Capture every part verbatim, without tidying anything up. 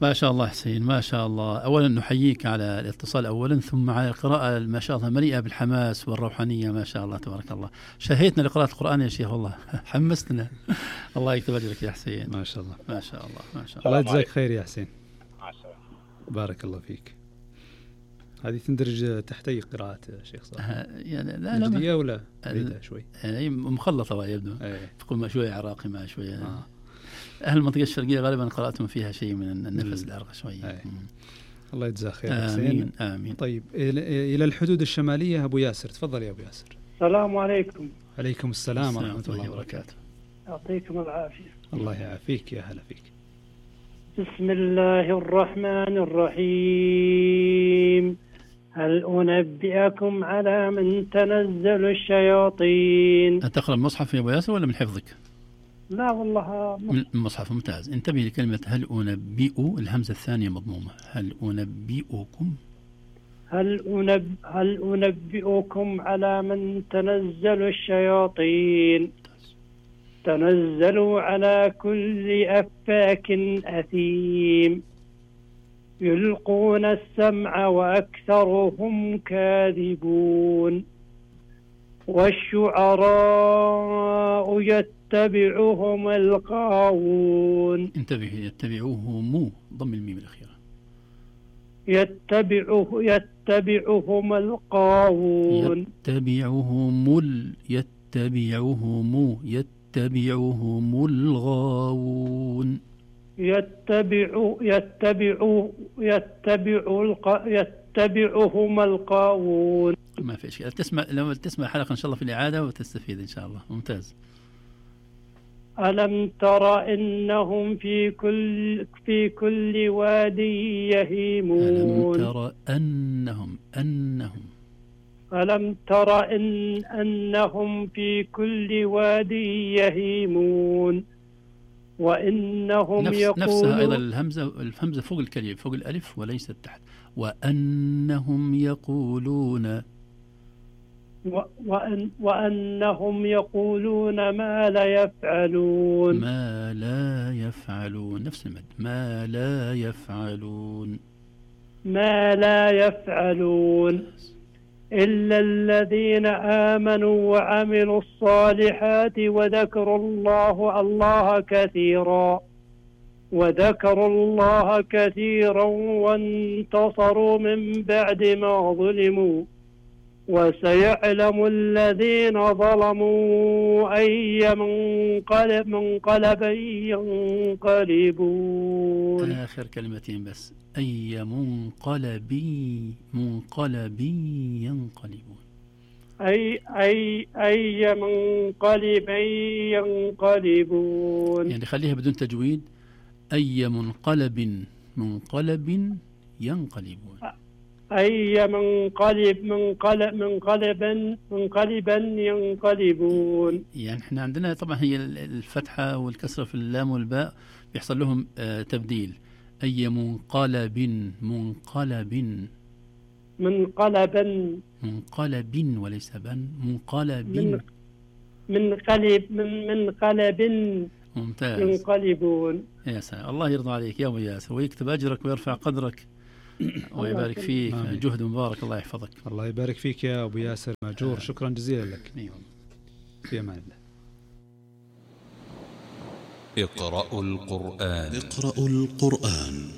ما شاء الله حسين، ما شاء الله. أولا نحييك على الاتصال أولا، ثم على القراءة ما شاء الله مليئة بالحماس والروحانية، ما شاء الله تبارك الله. شهيتنا لقراءة القرآن يا شيخ والله، حمستنا. الله يكتب أجرك يا حسين. ما شاء الله ما شاء الله ما شاء الله. الله يجزاك خير يا حسين. بارك الله فيك. هذه تندرج تحت أي قراءة شيخ صالح؟ يعني لا لا لا ولا بعيدة شوي، يعني مخلطة يبدو، تقول ما شوية عراقي ما شوية آه. أهل المنطقة الشرقية غالبا قراءتهم فيها شيء من النفس العرق شوية. الله يجزاه خير آمين حسين. آمين. طيب إلى الحدود الشمالية أبو ياسر، تفضل يا أبو ياسر. السلام عليكم. عليكم السلام ورحمة الله وبركاته. يعطيكم العافية. الله يعافيك، يا هلا فيك. بسم الله الرحمن الرحيم. هل أنبئكم على من تنزل الشياطين؟ أتقرأ المصحف يا أبو ياسر ولا من حفظك؟ لا والله من المصحف. ممتاز. انتبه لكلمة هل أنبئ، الهمزة الثانية مضمومة. هل أنبئكم هل, أنب... هل أنبئكم على من تنزل الشياطين؟ تنزلوا على كل أفاك أثيم يلقون السمع وأكثرهم كاذبون والشعراء يتبعهم الغاوون. انتبه، يتبعوهم ضم الميم الأخيرة. يتبعه يتبعهم الغاوون. يتبعهم ال يتبعهم يتبعهم الغاوون. يتبع يتبع يتبع الق... يتبعهم الغاوون. ما في شيء. تسمع لما تسمع حلقة إن شاء الله في الإعادة وتستفيد إن شاء الله. ممتاز. ألم تر إنهم في كل في كل وادي يهيمون. ألم تر أنهم أنهم ألم تر إن أنهم في كل وادي يهيمون وإنهم نفس يقولون. نفسها أيضا الهمزة، الهمزة فوق الكلمة فوق الألف وليست تحت. وأنهم يقولون وأن وأنهم يقولون ما لا يفعلون. ما لا يفعلون، نفس المد. ما لا يفعلون ما لا يفعلون إلا الذين آمنوا وعملوا الصالحات وذكروا الله الله كثيرا وذكروا الله كثيرا وانتصروا من بعد ما ظلموا وسيعلم الذين ظلموا أي منقلب منقلب ينقلبون. آخر كلمتين بس. أي منقلب منقلب ينقلبون. أي أي أي منقلب ينقلبون. يعني خليها بدون تجويد. أي منقلب منقلب ينقلبون. أي منقلب منقلب منقلبا منقلبا ينقلبون. يعني احنا عندنا طبعا هي الفتحة والكسرة في اللام والباء بيحصل لهم آه تبديل. أي منقلب منقلب منقلبا منقلب وليس بن منقلب من منقلب من منقلب ممتاز ينقلبون. يا سلام. الله يرضى عليك يا أبو ياسر ويكتب أجرك ويرفع قدرك ويبارك فيك. آمين. جهد مبارك. الله يحفظك. الله يبارك فيك يا أبو ياسر ماجور. شكرا جزيلا لك. في أمان الله. اقرأوا القرآن. اقرأوا القرآن.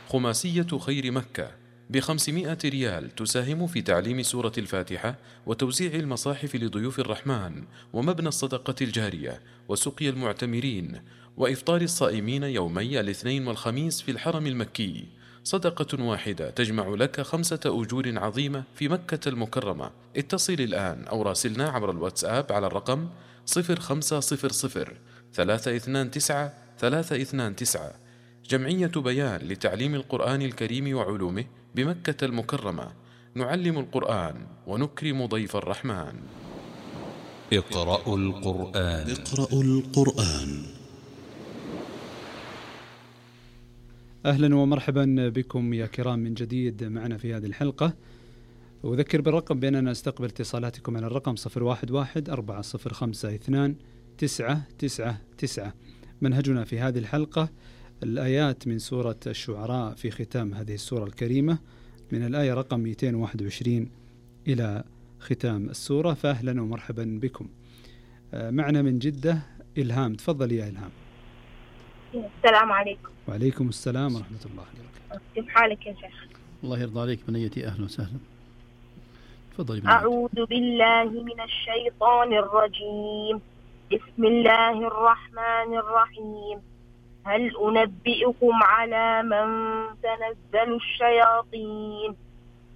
خماسية خير مكة بخمسمائة ريال تساهم في تعليم سورة الفاتحة وتوزيع المصاحف لضيوف الرحمن ومبنى الصدقة الجارية وسقي المعتمرين وإفطار الصائمين يومي الاثنين والخميس في الحرم المكي. صدقة واحدة تجمع لك خمسة أجور عظيمة في مكة المكرمة. اتصل الآن أو راسلنا عبر الواتساب على الرقم صفر خمسة صفر صفر ثلاثة اثنان تسعة ثلاثة اثنان تسعة. جمعية بيان لتعليم القرآن الكريم وعلومه بمكة المكرمة. نعلم القرآن ونكرم ضيف الرحمن. اقرأوا القرآن. اقرأوا القرآن. أهلا ومرحبا بكم يا كرام من جديد معنا في هذه الحلقة. أذكر بالرقم بأننا نستقبل اتصالاتكم على الرقم صفر واحد واحد أربعة صفر خمسة اثنان تسعة تسعة تسعة. منهجنا في هذه الحلقة الآيات من سورة الشعراء في ختام هذه السورة الكريمة من الآية رقم مئتين وواحد وعشرين إلى ختام السورة. فأهلا ومرحبا بكم. معنا من جدة إلهام، تفضل يا إلهام. السلام عليكم. وعليكم السلام ورحمة الله وبركاته. كيف حالك يا شيخ؟ الله يرضى عليك بنيتي، أهلا وسهلا. تفضلي بنيتي. أعوذ بالله من الشيطان الرجيم. بسم الله الرحمن الرحيم. هل أنبئكم على من تنزل الشياطين؟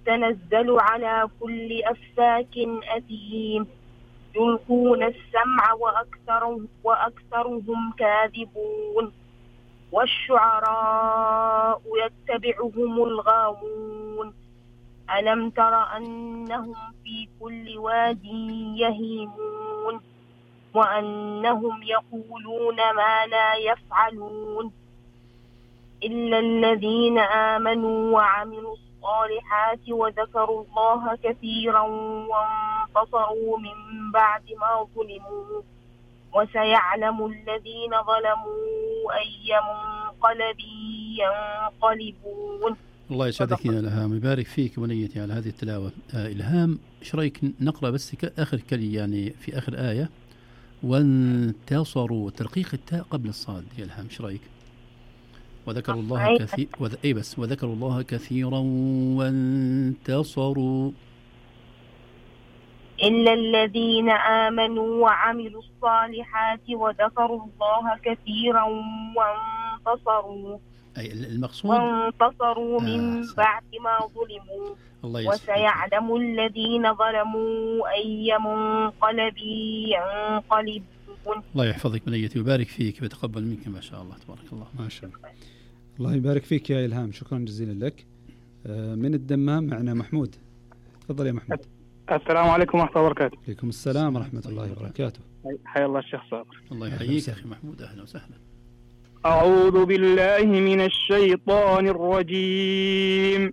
تنزل على كل أفاك أثيم يلقون السمع وأكثرهم, وأكثرهم كاذبون والشعراء يتبعهم الغاوون ألم تر أنهم في كل واد يهيمون وأنهم يقولون ما لا يفعلون إلا الذين آمنوا وعملوا الصالحات وذكروا الله كثيرا وانتصروا من بعد ما ظلموا وسيعلم الذين ظلموا أي منقلب ينقلبون. الله يسعدك يا إلهام، يبارك فيك بنيتي على هذه التلاوة. آه إلهام، ايش رايك نقرأ بس آخر كلمة يعني في آخر آية، وانتصروا، ترقيق التاء قبل الصاد يا إلهام، ايش رايك؟ وذكروا الله كثير وذ... اي بس وذكروا الله كثيرا وانتصروا إلا الذين آمنوا وعملوا الصالحات وذكروا الله كثيرا وانتصروا. أي المقصود وانتصروا من آه بعد ما ظلموا الله وسيعلم الذين ظلموا أي منقلب ينقلبون. الله يحفظك بنيتي ويبارك فيك ويتقبل منك ما شاء الله تبارك الله. ما شاء الله. الله يبارك فيك يا إلهام، شكرا جزيلا لك. من الدمام معنا محمود، تفضل يا محمود. السلام عليكم ورحمة الله وبركاته. عليكم السلام ورحمة الله وبركاته. حيا الله الشيخ صابر. الله يحييك يا أخي محمود، أهلا وسهلا. أعوذ بالله من الشيطان الرجيم.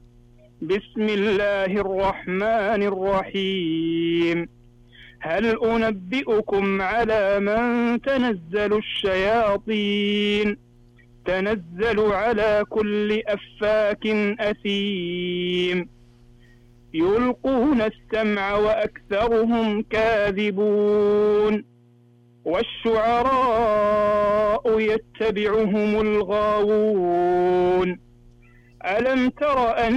بسم الله الرحمن الرحيم. هل أنبئكم على من تنزل الشياطين؟ تنزل على كل أفاك أثيم يلقون السمع وأكثرهم كاذبون والشعراء يتبعهم الغاوون ألم تر أن